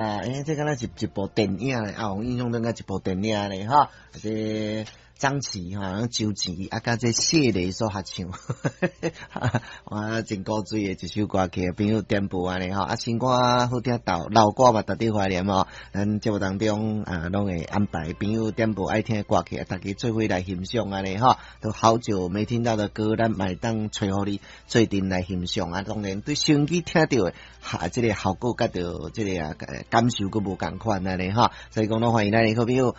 欸，這敢若是一部電影咧，啊，我印象中敢一部電影咧，吼，這張琪哈、周琦啊，佮這謝雷所合唱，哇，真古錐的一首歌曲，朋友點播按呢吼，啊，新歌好聽到，老歌嘛值得懷念吼。咱節目當中啊，攏會安排朋友點播愛聽的歌曲，大家做伙來欣賞按呢吼。都好久沒聽到的歌，咱嘛會當揣予你做陣來欣賞啊。當然對收音機聽著的，哈，這個效果佮著這個啊感受閣無仝款按呢吼。所以講，攏歡迎咱的好朋友，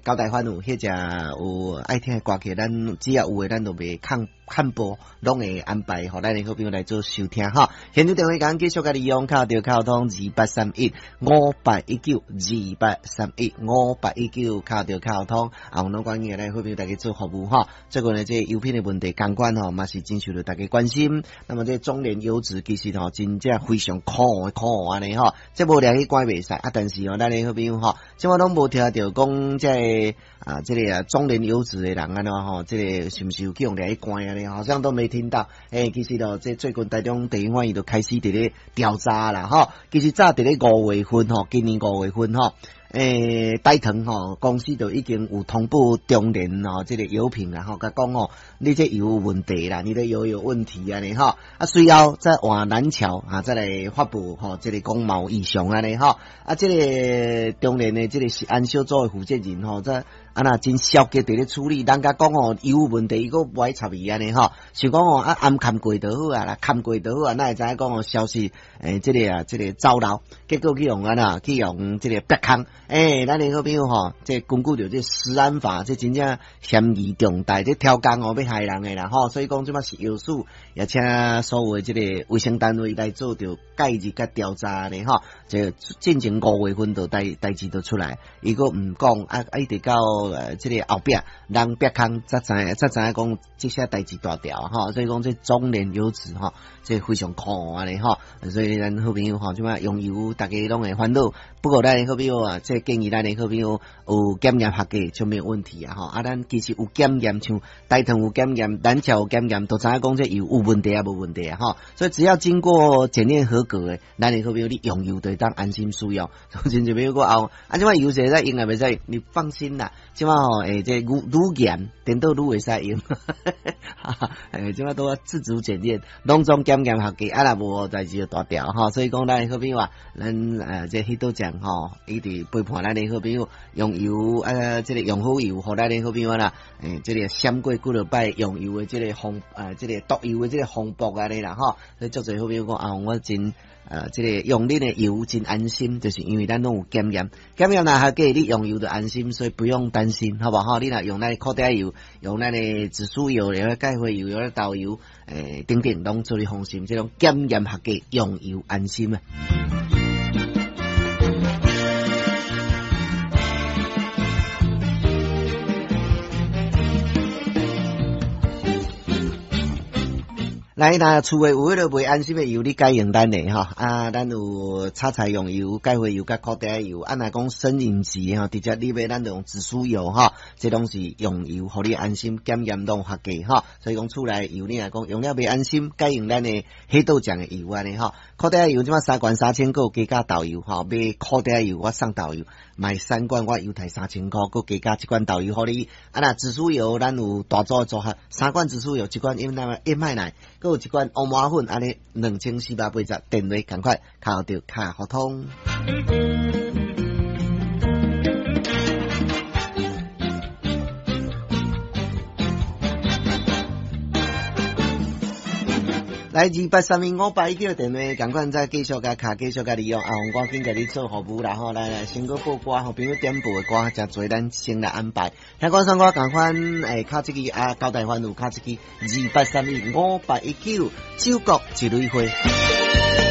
交代翻有彼隻有愛聽的歌曲，咱只要有的，咱就袂空看播，攏會安排予咱的好朋友來做收聽吼。現場電話共繼續共利用，敲著敲通28315819，28315819，敲著敲通。啊，攏歡迎咱好朋友大家做服務吼。最近呢，這個油品的問題，仝款吼，嘛是真受著大家關心。那麼這中聯油脂其實吼，真正非常可惡可惡按呢吼。這無掠去關袂使啊，但是吼，咱的好朋友吼，這擺攏無聽著講這個啊，這個啊中聯油脂的人按怎吼，這個是毋是有去予掠去關按呢？好像都沒聽到。欸，其實咯，這最近台中地方法院就開始佇咧調查啦，吼。其實早佇咧五月份吼，今年五月份吼，欸，台糖吼公司就已經有通報中聯吼，這個油品啦吼，共講吼，你這油有問題啦，你的油有問題按呢吼。啊，隨後再換南橋啊，再來發布吼，這個講嘛有異常按呢吼。啊，這個中聯的這個食安小組的負責人吼，這啊若真消極佇咧處理，人家講吼油有問題，伊閣無愛插伊按呢吼，想講吼啊暗崁過就好啊啦，崁過就好啊，哪會知影講吼消息欸，這個啊，這個走漏，結果去予按怎去予這個逼空。欸，咱的好朋友吼，這根據著這食安法，這真正嫌疑重大，這超工哦欲害人的啦吼，所以講這擺食藥署也請所有的這個衛生單位來做著介入佮調查呢吼，這進前五月份就代代誌就出來，伊閣毋講啊，一直到這個後壁人逼空才知才知影講這些代誌大條吼，所以講這中聯油脂吼，這非常可惡按呢吼，所以咱好朋友吼，這擺用油大家攏會煩惱，不過咱好朋友啊，這建議咱的好朋友有檢驗合格就沒有問題啊吼，啊，咱其實有檢驗，像台糖有檢驗，南橋有檢驗，都知影講這油有問題啊，無問題啊吼，所以只要經過檢驗合格的，咱的好朋友你用油就會當安心使用。真濟朋友講啊，啊，這擺油會使用啊，袂使，你放心啦，這擺吼，欸，這愈愈嚴，顛倒愈會使用。欸，這擺都自主檢驗，攏總檢驗合格，啊，若無代誌就大條吼。所以講咱的好朋友啊，咱這彼倒講吼，一直陪伴咱的好朋友用油啊，這個用好油，予咱的好朋友啦，欸，這個閃過幾落擺用油的這個風，這個毒油的這個風暴按呢啦吼。所以足濟好朋友講啊，我真這個用恁的油真安心，就是因為咱攏有檢驗，檢驗若合格，你用油就安心，所以不用擔心，好無吼？你若用咱的苦茶油，用咱的紫蘇油，用芥花油，用豆油，欸，等等，攏做你放心，這種檢驗合格，用油安心啊。來，若厝內有彼個袂安心的油，你改用咱的吼。啊，咱有炒菜用油、芥花油、佮苦茶油。啊，若講生飲食吼，直接你買咱就用紫蘇油吼，這攏是用油，予你安心，檢驗攏合格吼。所以講厝內油，你若講用了袂安心，改用咱的彼道醬的油按呢吼。苦茶油這擺三罐3000塊，加價豆油吼，買苦茶油我送豆油，買三罐我優待3000塊，閣加價一罐豆油予你。啊，若紫蘇油咱有大組的組合，三罐紫蘇油，一罐燕麥奶，閣有一罐烏麻粉，按呢2480，電話仝款敲著卡互通。來28315819電話，仝款再繼續共敲，繼續共利用啊！我趕緊共你做服務啦吼！來來，先閣報歌，予朋友點播的歌，誠濟，咱先來安排。聽講上歌仝款，欸，敲這支啊，交代番有敲這支28315819，酒國一蕊花。